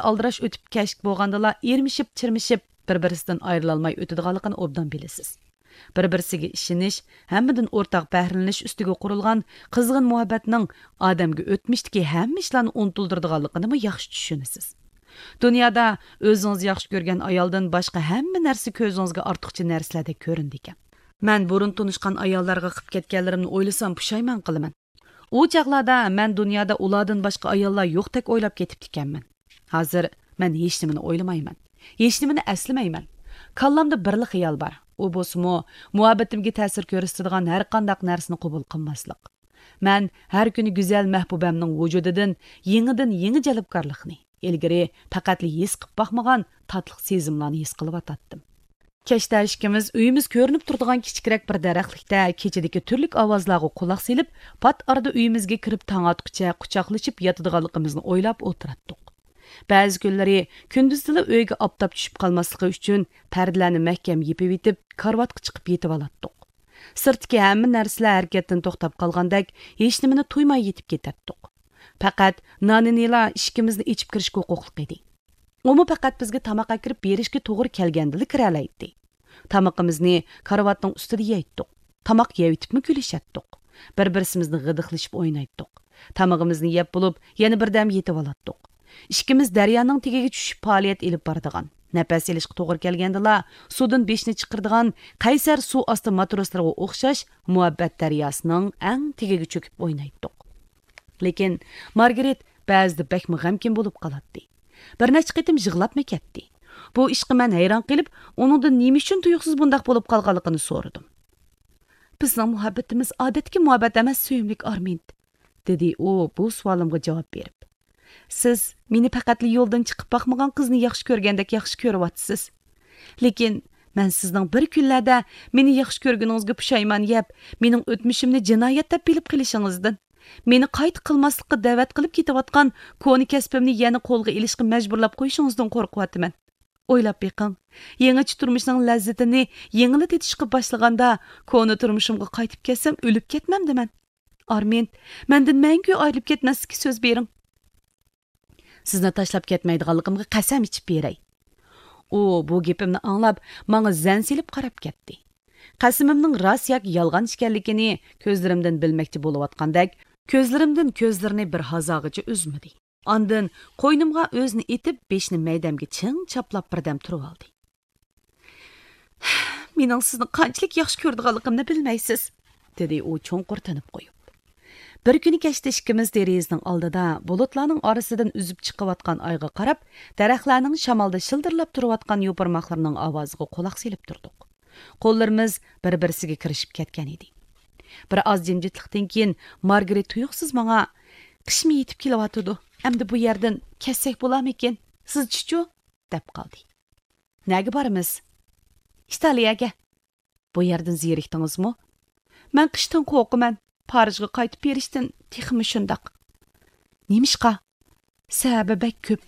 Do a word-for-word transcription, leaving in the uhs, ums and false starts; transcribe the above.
ئالدىراش ئۆتۈپ كەچلىك بولغاندىلا ئېرىشىپ، چىرمىشىپ، بىر-بىرسىدىن ئايرىلالماي ئۆتىدىغانلىقىنى ئوبدان بىلىسىز. بىر-بىرسىگە ئىشىنىش، ھەممىدىن ئورتاق بەھرىلىنىش ئۈستىگە قۇرۇلغان قىزغىن مۇھەببەتنىڭ ئادەمگە ئۆتمۈشتىكى ھەممە ئىشلارنى ئۇنتۇلدۇرىدىغانلىقىنىمۇ ياخشى چۈشىنىسىز. دۇنيادا ئۆزىڭىز ياخشى كۆرگەن ئايالدىن باشقا ھەممە نەرسە كۆزىڭىزگە ئارتۇقچە نەرسىلەردەك كۆرۈنىدىكەن. مەن بۇرۇن تونۇشقان ئاياللارغا قىپ كەتكەنلىرىمنى ئويلىسام پۇشايمان قىلىمەن. ئۇ چاغلاردا مەن دۇنيادا ئۇلاردىن باشقا ئاياللار يوقتەك ئويلاپ كېتىپتىكەنمەن. ھازىر مەن ھېچنېمىنى ئويلىمايمەن. ھېچنېمىنى ئەسلىمەيمەن. كاللامدا بىرلا خىيال بار. ئۇ بولسىمۇ، مۇھەببىتىمگە تەسىر كۆرسىتىدىغان ھەرقانداق نەرسىنى قوبۇل قىلماسلىق. مەن ھەر كۈنى گۈزەل مەھبۇبەمنىڭ ۋۇجۇدىدىن يېڭىدىن يېڭى جەلپكارلىقنى، ئىلگىرى پەقەتلا ھېس قىپ باقمىغان تاتلىق سېزىملارنى ھېس قىلىۋاتاتتىم. كەچتە ئىككىمىز ئۆيىمىز كۆرۈنۈپ تۇرىدىغان كىچىكرەك بىر دەرەخلىكتە كېچىدىكى تۈرلۈك ئاۋازلارغا قۇلاق سېلىپ، پات ئارىدا ئۆيىمىزگە كىرىپ تاڭ ئاتقۇچە قۇچاقلىشىپ ياتىدىغانلىقىمىزنى ئويلاپ ئولتۇراتتۇق. بەزى كۈنلىرى كۈندۈزدىلا ئۆيگە ئاپتاپ چۈشۈپ قالماسلىقى ئۈچۈن پەردىلەرنى مەھكەم يېپىۋېتىپ، كارىۋاتقا چىقىپ يېتىۋالاتتۇق. سىرتتىكى ھەممە نەرسىلەر ھەرىكەتتىن توختاپ قالغاندەك، ھېچنېمىنى تۇيماي يېتىپ كېتەتتۇق. پەقەت نانىنىلا ئىشىكىمىزنى ئېچىپ كىرىشكە ھوقۇقلۇق ئىدى. ئۇمۇ پەقەت بىزگە تاماق ئەكىرىپ بېرىشكە توغرا كەلگەندىلا كىرەلەيتتى. تامىقىمىزنى كارىۋاتنىڭ ئۈستىدە يەيتتۇق. تاماق يەۋېتىپمۇ كۈلۈشەتتۇق. بىر-بىرسىمىزنى غىدىقلىشىپ ئوينايتتۇق. تامىقىمىزنى يەپ بولۇپ، يەنە بىردەم يېتىۋالاتتۇق. ئىككىمىز دەريانىڭ تېگىگە چۈشۈپ پائالىيەت ئېلىپ بارىدىغان، نەپەس ئېلىشقا توغرا كەلگەندىلا سۇدىن بېشىنى چىقىرىدىغان قەيسەر سۇ ئاستى ماتروسلىرىغا ئوخشاش مۇھەببەت دەرياسىنىڭ ئەڭ تېگىگە چۆكۈپ ئوينايتتۇق. لېكىن مارگرېت بەزىدە بەكمۇ غەمكىن بولۇپ قالاتتى. بىر نەچچە قېتىم يىغلاپمۇ كەتتى. بۇ ئىشقا مەن ھەيران قېلىپ، ئۇنىڭدىن نېمە ئۈچۈن تۇيۇقسىز بۇنداق بولۇپ قالغانلىقىنى سورىدىم. بىزنىڭ مۇھەببىتىمىز ئادەتتىكى مۇھەببەت ئەمەس، سۆيۈملۈك ئارمىند، دېدى ئۇ بۇ سوئالىمغا جاۋاب بېرىپ. سىز مېنى پەقەتلا يولدىن چىقىپ باقمىغان قىزنى ياخشى كۆرگەندەك ياخشى كۆرۈۋاتىسىز. لېكىن مەن سىزنىڭ بىر كۈنلەردە مېنى ياخشى كۆرگىنىڭىزگە پۇشايمان يەپ، مېنىڭ ئۆتمۈشۈمنى جىنايەت دەپ بىلىپ قېلىشىڭىزدىن، مېنى قايتا قىلماسلىققا دەۋەت قىلىپ كېتىۋاتقان كونا كەسپىمنى يەنە قولغا ئېلىشقا مەجبۇرلاپ قويۇشىڭىزدىن قورقۇۋاتىمەن. ئويلاپ بېقىڭ، يېڭىچە تۇرمۇشنىڭ لەززىتىنى يېڭىلا تېتىشقا باشلىغاندا، كونا تۇرمۇشۇمغا قايتىپ كەتسەم، ئۆلۈپ كەتمەمدىمەن؟ ئارمىند، مەندىن مەڭگۈ ئايرىلىپ كەتمەسلىككە سۆز بېرىڭ. سىزنى تاشلاپ كەتمەيدىغانلىقىمغا قەسەم ئىچىپ بېرەي. ئۇ بۇ گېپىمنى ئاڭلاپ، ماڭا زەن سېلىپ قاراپ كەتتى. قەسىمىمنىڭ راست ياكى يالغان ئىكەنلىكىنى كۆزلىرىمدىن بىلمەكچى بولۇۋاتقاندەك، كۆزلىرىمدىن كۆزلىرىنى بىر ھازاغىچە ئۈزمىدى. ئاندىن قوينۇمغا ئۆزىنى ئېتىپ، بېشىنى مەيدەمگە چىڭ چاپلاپ بىردەم تۇرۇۋالدى. مېنىڭ سىزنى قانچىلىك ياخشى كۆرىدىغانلىقىمنى بىلمەيسىز، دېدى ئۇ چوڭقۇر تىنىپ قويۇپ. بىر كۈنى كەچتە ئىككىمىز دېرىزىنىڭ ئالدىدا بۇلۇتلارنىڭ ئارىسىدىن ئۈزۈپ چىقىۋاتقان ئايغا قاراپ، دەرەخلەرنىڭ شامالدا شىلدىرلاپ تۇرۇۋاتقان يوپۇرماقلىرىنىڭ ئاۋازىغا قۇلاق سېلىپ تۇردۇق. قوللىرىمىز بىر-بىرسىگە كىرىشىپ كەتكەن ئىدى. بىر ئاز جىمجىتلىقتىن كېيىن مارگرېت تۇيۇقسىز ماڭا، «قىشمۇ يېتىپ كېلىۋاتىدۇ، ئەمدى بۇ يەردىن كەتسەك بولارمىكىن؟ سىزچىچۇ؟» دەپ قالدى. «نەگە بارىمىز؟» «ئىتالىيەگە.» «بۇ يەردىن زېرىكتىڭىزمۇ؟» «مەن قىشتىن قورقىمەن، پارىژغا قايتىپ بېرىشتىن تېخىمۇ شۇنداق.» «نېمىشقا؟» «سەۋەبى بەك كۆپ.»